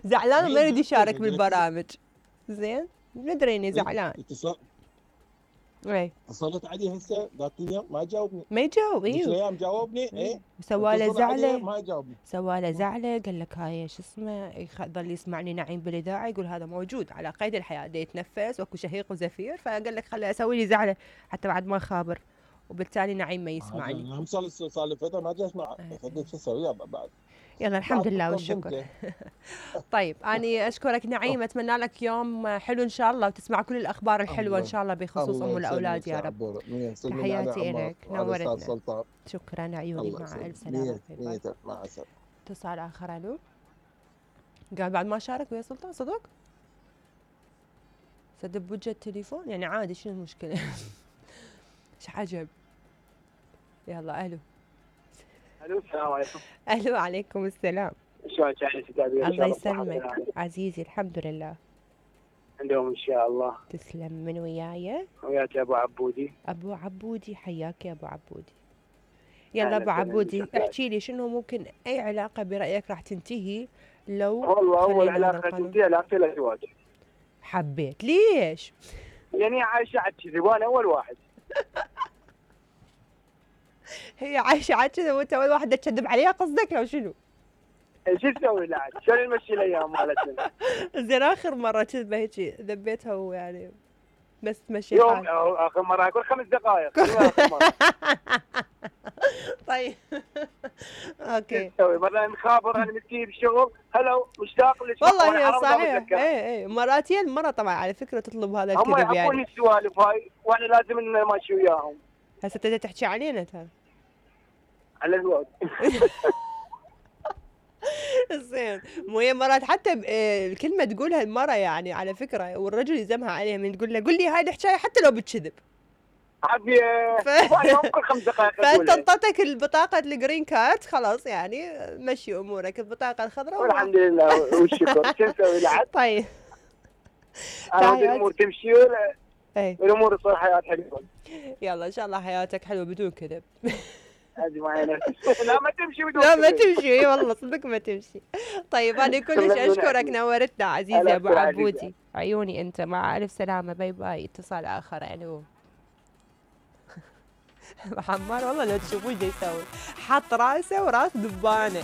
زعلان وما يريد يشارك يقول لك بالبرامج. زين ندري اني إيه، زعلان. اي اتصلت عليه هسه ذاك اليوم ما جاوبني. ما يجاوب. ذيك ايوه الايام جاوبني ايه. سواله اتصل عليه زعله، ما جاوبني. سواله زعله، قال لك هاي شو اسمه، ظل يسمعني نعيم بالاذاعه يقول هذا موجود على قيد الحياه، دا يتنفس واكو شهيق وزفير، فقال لك خلي اسوي لي زعله حتى بعد ما خابر، وبالتالي نعيم ما يسمعني. انا صار لي فتره ما جاي اسمع. فقلت شو اسوي بعد. يلا الحمد لله بعد والشكر. قدمته. طيب اني اشكرك نعيم، اتمنى لك يوم حلو ان شاء الله، وتسمع كل الاخبار الحلوه ان شاء الله بخصوص ام الاولاد يا رب. تحياتي لك، نورتنا. سلطان. شكرا عيوني، مع الف سلامه. مع السلامه. اتصال اخر. الو، قال بعد ما شارك ويا سلطان صدق سدب بوجه التليفون يعني عادي، شنو المشكله؟ ايش عجب. يلا الو. الو السلام عليكم. الو عليكم السلام. شلونك يا ستي؟ الله يسلمك عزيزي، الحمد لله. عندهم ان شاء الله. تسلم. من وياي؟ وياك ابو عبودي. ابو عبودي، حياك يا ابو عبودي. يلا ابو عبودي احكي لي شنو ممكن اي علاقه برايك راح تنتهي لو والله اول علاقه تنتهي علاقتي الازواج. حبيت ليش؟ يعني عايشه على كذي وانا اول واحد. هي عايشه على كذا وانت اول واحد تكذب عليها قصدك لو شنو؟ شو تسوي لا عاد؟ شلون نمشي الايام مالتنا؟ زين اخر مره كذبه هيك ذبيتها ويعني بس تمشي يوم حالك. اخر مره اقول 5 دقائق. آخر مرة. طيب اوكي. تسوي مره مخابر انا متي بالشغل هلا مشتاق لك والله هي صحيح. اي مراتين المره طبعا على فكره تطلب هذا الكذب يعني. هم يحبون السوالف هاي وانا لازم نمشي وياهم. هسه تبي تحكي علينا ترى. على الزواج. زين مو هي مرات حتى الكلمه تقولها المره يعني على فكره، والرجل يلزمها عليها من تقول له قل لي هاي الحكايه حتى لو بتكذب. عبي كل 5 دقائق. فانت انطتك البطاقه الجرين كارد خلاص يعني مشي امورك، البطاقه الخضراء والحمد لله والشكر. شو نسوي لعد؟ طيب الامور تمشي الامور تصير حياه حلوه. يلا ان شاء الله حياتك حلوه بدون كذب. هذه معي نفسي. لا ما تمشي بدون لا ما تمشي. اي والله صدق ما تمشي. طيب انا كلش اشكرك، نورتنا عزيزي ابو عبودي. عيوني انت، مع الف سلامه. باي باي. اتصال اخر. الو. حمار والله لو تشوفوه ايش يسوي، حط راسه وراس دبانه.